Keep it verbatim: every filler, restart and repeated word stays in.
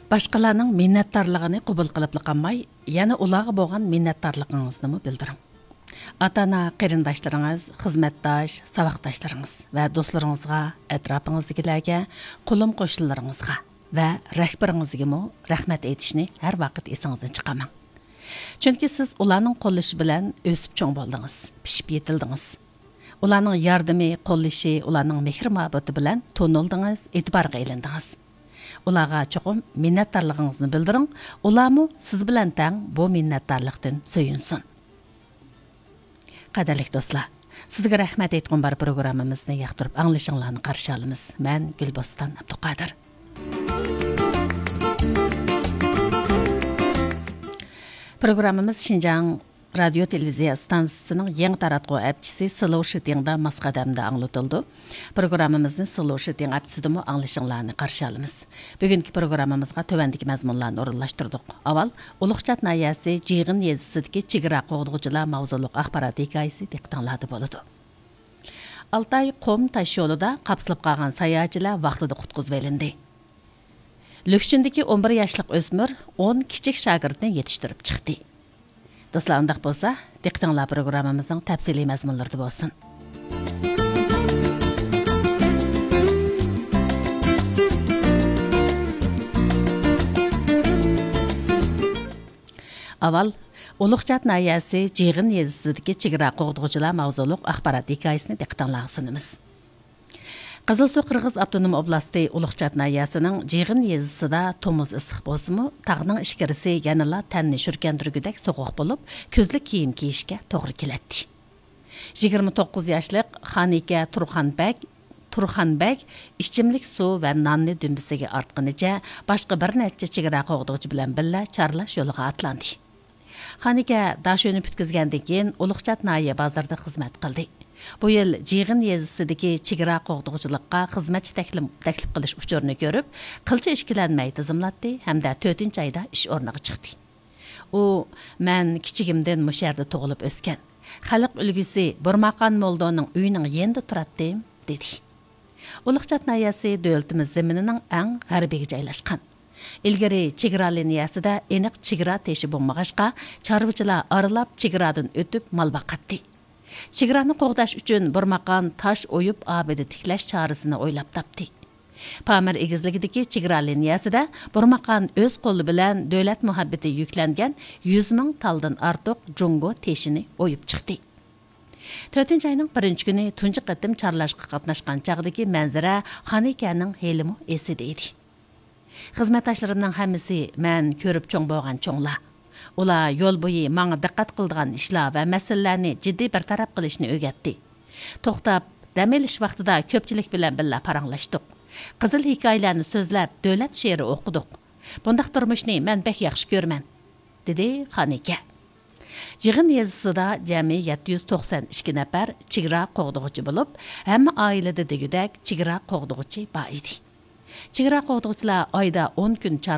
باشقىلارنىڭ مىننەتدارلىقىنى قوبۇل قىلىپلا قالماي، يەنە ئۇلارغا بولغان مىننەتدارلىقىڭىزنىمۇ بىلدۈرۈڭ. ئاتا-ئانا قېرىنداشلىرىڭىز، خىزمەتداش، ساۋاقداشلىرىڭىز ۋە دوستلىرىڭىزغا، ئەتراپىڭىزدىكىلەرگە، قولۇم-قوشنىلىرىڭىزغا ۋە رەھبىرىڭىزگىمۇ رەھمەت ئېيتىشنى ھەر ۋاقىت ئېسىڭىزدىن چىقارماڭ. چۈنكى سىز ئۇلارنىڭ قوللىشى بىلەن ئۆسۈپ چوڭ بولدىڭىز، پىشىپ يېتىلدىڭىز. ئۇلارنىڭ ياردىمى، قوللىشى، ئۇلارنىڭ مېھىر-مۇھەببىتى بىلەن تونۇلدىڭىز، ئېتىبارغا ئېلىندىڭىز. ئۇلارغا چوقۇم مىننەتدارلىقىڭىزنى بىلدۈرۈڭ، ئۇلارمۇ سىز بىلەن تەڭ بۇ مىننەتدارلىقتىن سۆيۈنسۇن. قەدىرلىك دوستلار، سىزگە رەھمەت ئېيتقۇم بار پروگراممىمىزنى ياقتۇرۇپ ئاڭلىشىڭلارنى قارشى ئالىمىز. مەن گۈلبوستان ئابدۇقادىر. پروگراممىمىز شىنجاڭ رادىيو تېلېۋىزىيە ئىستانسىسىنىڭ يېڭى تاراتقۇ ئەپچىسى سلوشىتىڭدا ماس قەدەمدە ئاڭلىتىلىدۇ. پروگراممىمىزنى سلوشىتىڭ ئەپچىسىدىمۇ ئاڭلىشىڭلارنى قارشى ئالىمىز. بۈگۈنكى پروگراممىمىزغا تۆۋەندىكى مەزمۇنلارنى ئورۇنلاشتۇردۇق. ئاۋۋال، ئۇلۇغچات ناھىيەسى جىغىن يېزىسىدىكى چېگرا قوغدىغۇچىلار ماۋزۇلۇق ئاخبارات ھېكايىسى دىققىتىڭلاردا بولىدۇ. ئالتاي قۇم تاش يولىدا قاپسىلىپ قالغان ساياھەتچىلەر ۋاقتىدا قۇتقۇزۇۋېلىندى. لۈكچۈندىكى ئون بىر ياشلىق ئۆسمۈر ئون كىچىك شاگىرتنى يېتىشتۈرۈپ چىقتى. دوستلار، ئۇنداق بولسا، دىققىتىڭلار پروگراممىمىزنىڭ تەپسىلىي مەزمۇنلىرىدا بولسۇن. ئاۋۋال، ئۇلۇغچات ناھىيەسى جىغىن يېزىسىدىكى چېگرا قوغدىغۇچىلار ماۋزۇلۇق ئاخبارات ھېكايىسىنى دىققىتىڭلارغا سۇنىمىز. قىزىلسۇ قىرغىز ئاپتونوم ئوبلاستى ئۇلۇغچات ناھىيەسىنىڭ جىغىن يېزىسىدا تومۇز ئىسسىق بولسىمۇ، تاغنىڭ ئىچكىرىسى يەنىلا تەننى شۈركەندۈرگۈدەك سوغۇق بولۇپ، كۈزلۈك كىيىم كىيىشكە توغرا كېلەتتى. يىگىرمە توققۇز ياشلىق خانىكە تۇرخان بەگ، تۇرخان بەگ ئىچىملىك سۇ ۋە ناننى دۈمبىسىگە ئارتقىنىچە، باشقا بىر نەچچە چېگرا قوغدىغۇچى بىلەن بىللە چارلاش يولىغا ئاتلاندى. خانىكە داشۆنى پۈتكۈزگەندىن كېيىن، ئۇلۇغچات ناھىيە بازىرىدا خىزمەت قىلدى. بۇ يىل جىغىن يېزىسىدىكى چېگرا قوغدىغۇچىلىققا خىزمەتچى تەكلىم-، تەكلىپ قىلىش ئۇچۇرىنى كۆرۈپ، قىلچە ئىككىلەنمەي تىزىملاتتى ھەمدە تۆتىنچى ئايدا ئىش ئورنىغا چىقتى. ئۇ، مەن كىچىكىمدىن مۇشۇ يەردە تۇغۇلۇپ ئۆسكەن. خەلق ئۈلگىسى بۇرماقان مولدونىڭ ئۆيىنىڭ يېنىدا تۇراتتىم، دېدى. ئۇلۇغچات ناھىيەسى دۆلىتىمىز زېمىنىنىڭ ئەڭ غەربىگە جايلاشقان. ئىلگىرى چېگرا لىنىيەسىدە ئېنىق چېگرا تېشى بولمىغاچقا، چارۋىچىلار ئارىلاپ چېگرادىن ئۆتۈپ مال باقاتتى. چېگرانى قوغداش ئۈچۈن بىر ماقان تاش ئويۇپ ئابىدە تىكلەش چارىسىنى ئويلاپ تاپتى. پامىر ئېگىزلىكىدىكى چېگرا لىنىيەسىدە بىر ماقان ئۆز قولى بىلەن دۆلەت مۇھەببىتى يۈكلەنگەن يۈز مىڭ تالدىن ئارتۇق جۇڭگو تېشىنى ئويۇپ چىقتى. تۆتىنچى ئاينىڭ بىرىنچى كۈنى تۇنجى قېتىم چارلاشقا قاتناشقان چاغدىكى مەنزىرە خانىكەنىڭ ھېلىمۇ ئېسىدە ئىدى. خىزمەتداشلىرىمنىڭ ھەممىسى مەن كۆرۈپ چوڭ بولغان چوڭلار. ئۇلار يول بويى ماڭا دىققەت قىلىدىغان ئىشلار ۋە مەسىلىلەرنى جىددىي بىر تەرەپ قىلىشنى ئۆگەتتى. توختاپ، دەم ئېلىش ۋاقتىدا كۆپچىلىك بىلەن بىللە پاراڭلاشتۇق. قىزىل ھېكايىلەرنى سۆزلەپ، دۆلەت شېئىرى ئوقۇدۇق. بۇنداق تۇرمۇشنى مەن بەك ياخشى كۆرىمەن، دېدى خانىكە. جىغىن يېزىسىدا جەمئىي يەتتە يۈز توقسەن ئىككى نەپەر چېگرا قوغدىغۇچى بولۇپ، ھەممە ئائىلىدە دېگۈدەك چېگرا قوغدىغۇچى بار ئىدى. چېگرا قوغدىغۇچىلار ئايدا ئون كۈن چار